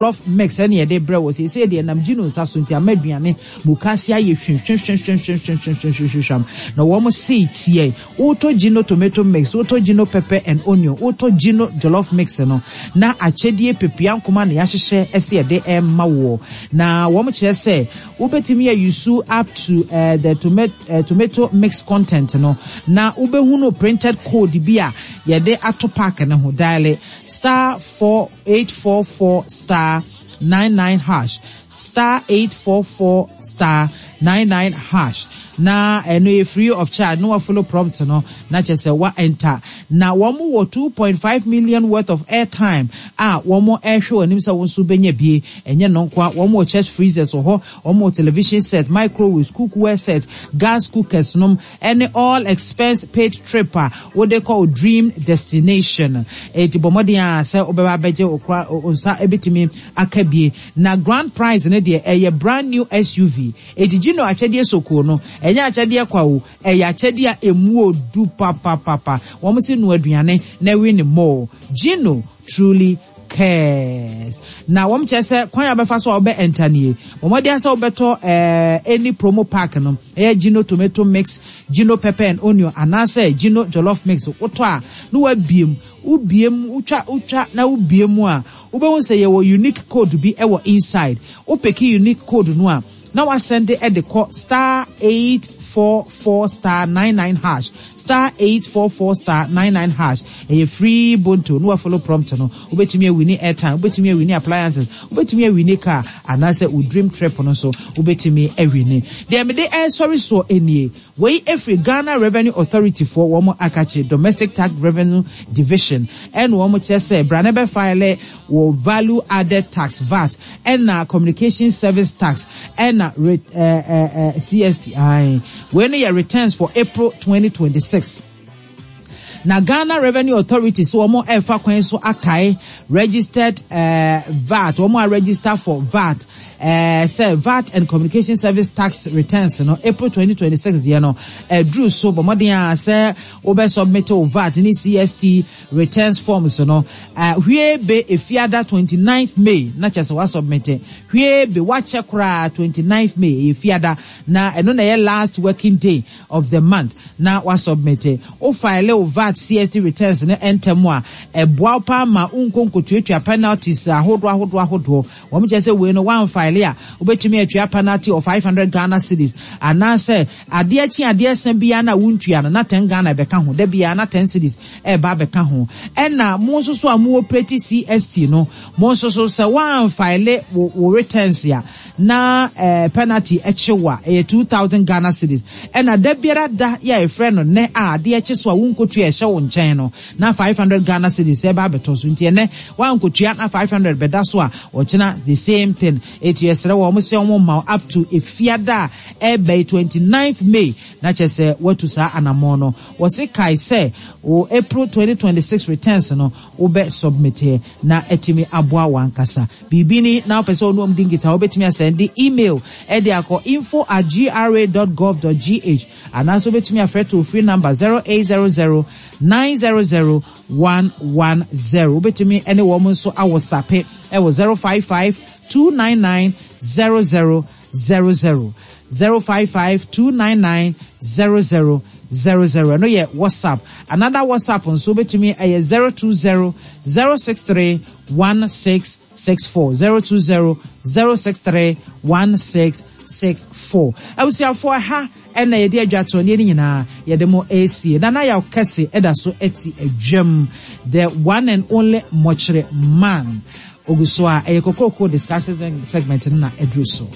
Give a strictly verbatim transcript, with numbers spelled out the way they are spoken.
Jollof mix ɛne yɛde brɛ wɔ seesei deɛ nam Gino nsa so nti ama aduane mukase ayɛ hwehwehwehwehwehwehwehwehwam. Na wɔn sei tiɛ, wotɔ Gino tomato mix, wotɔ Gino pepper and onion, wotɔ Gino jollof mix no, na akyɛdeɛ pepia nkoma na yɛahyehyɛ ɛsɛ yɛde ɛma woɔ. Na wɔn kyerɛ sɛ wobɛtumi a-use up to uh, the tomato, uh, tomato mix content no, na wobɛhunu printed code bi a yɛde ato pack ne ho. Dial star four eight four four star nine nine hash, star eight four four star nine nine hash, na ɛno yɛ free of charge. Na wa follow prompt no na kyerɛ sɛ wa enter. Na wɔn wɔ two point five million worth of airtime a wɔn ɛrehwɛ wɔn anim sɛ wɔn nso bɛnya bie. Ɛnyɛ no nko a, wɔn wɔ chest freezers wɔ hɔ, wɔn wɔ television set, microwaves, cookware set, gas cookers nom, ɛne all expense paid trip a wɔde kɔ dream destination. Eti bɔ mmɔden a sɛ wɔbɛba abɛgye okura nsa ebitumi aka bie. Na grand prize ne deɛ ɛyɛ brand new S U V. Eti Gino akyɛdeɛ sokuo no, ɛnyɛ akyɛdeɛ kwa o, ɛyɛ akyɛdeɛ a emu odu papapapa. Wɔn si no aduane na ɛwi ne more. Gino truly cares. Na wɔn kyerɛ sɛ kwan a wɔbɛfa so a wɔbɛ enter nie: wɔn de asɛ wɔbɛtɔ ɛɛ any promo pack no, ɛyɛ Gino tomato mix, Gino pepper and onion, anaasɛ Gino jollof mix, wotɔ a na wabiem, wobiem, wotwa wotwa na wobie mu a, wobɛhu sɛ yɛwɔ unique code bi ɛwɔ inside. Wo pick unique code no a, na wa send ɛde kɔ star eight four four star nine nine hash, star eight four four star nine nine hash. Ɛyɛ free bonto. Na wa follow prompt no, wobɛtumi a win airtime, wobɛtumi a win appliances, wobɛtumi a win car, anaasɛ wo dream trip no nso wobɛtumi a win. Deɛ mede ɛresɔre soɔ nie: wei efiri Ghana Revenue Authority foɔ wɔn akakye Domestic Tax Revenue Division, ɛna wɔn kyerɛ sɛ brane bɛ file wɔ value added tax, V A T, ɛna communication service tax, ɛna ɛɛ ɛɛ C S T. Ayi, wei no yɛ returns for April twenty twenty-six. Na Ghana Revenue Authority so wɔn ɛfa kwan so akae registered uh, V A T, wɔn a register for V A T, uh, sɛ V A T and communication service tax returns no, April twenty twenty-six deɛ no ɛduru so. Bɔ mmɔden a sɛ wobɛ submit wo V A T ne C S T returns forms no uh, hwie be Efiada twenty-ninth May, na kyerɛ sɛ wa submit. Hwie be wakyɛ koraa, twenty-ninth May Efiada, na ɛno na ɛyɛ last working day of the month na wa submit. Wo file wo V A T, C S T returns no ntɛm a, ɛboa wo paa ma nko nkotuatua penalties ahodoɔ ahodoɔ ahodoɔ. Wɔn kyerɛ sɛ wei no, wan file a, wobɛtumi atua penalty of five hundred Ghana cedis, anaasɛ adeɛ kye adeɛ sɛn biara na wontua no na ten Ghana ɛbɛka ho, da biara na ten cedis ɛɛba abɛka ho. Ɛna mo nso so a mo operate C S T no, mo nso so sɛ wan file wo wo returns a, na ɛɛ penalty ɛkye wo a, ɛyɛ two thousand Ghana cedis. Ɛna da biara da yɛ a yɛfrɛ no nɛ a adeɛ kye so a wonkotua ɛhyɛ wo nkyɛn no, na five hundred Ghana cedis ɛba abɛtɔ so. Nti ɛnɛ wankotua na five hundred bɛda so a, ɔkyena the same thing. Eti ɛsrɛ wɔn sɛ wɔn ma up to Efiada a ɛbɛyi twenty ninth May, na kyerɛ sɛ watu saa anammɔn no. Wɔsi kae sɛ o April twenty twenty six returns no wobɛ submit na ɛtumi aboa wɔn ankasa. Biribi ni na wopɛ sɛ ɔno ɔmo di nkita, wobɛtumi a send email ɛde akɔ info at gra dot gov dot gh, anaasɛ wobɛtumi afrɛ toll free number zero eight zero zero nine zero zero one one zero. Wobɛtumi ɛne wɔn nso awɔ sape ɛwɔ zero five five two nine nine zero zero zero zero, zero five five two nine nine zero zero zero zero. Ɛno yɛ WhatsApp. Another WhatsApp nso wobɛtumi ɛyɛ zero two zero zero six three one six six four, zero two zero zero six three one six six four. Abusuafoɔ, ha ɛna yɛde adwatoɔ ne nyinaa yɛde mo esie. Nana Yaw Kɛse ɛda so ɛte adwam, the one and only Mɔkyerɛ man ogu so a ɛyɛ Kokroko discussion segment no na ɛduru so.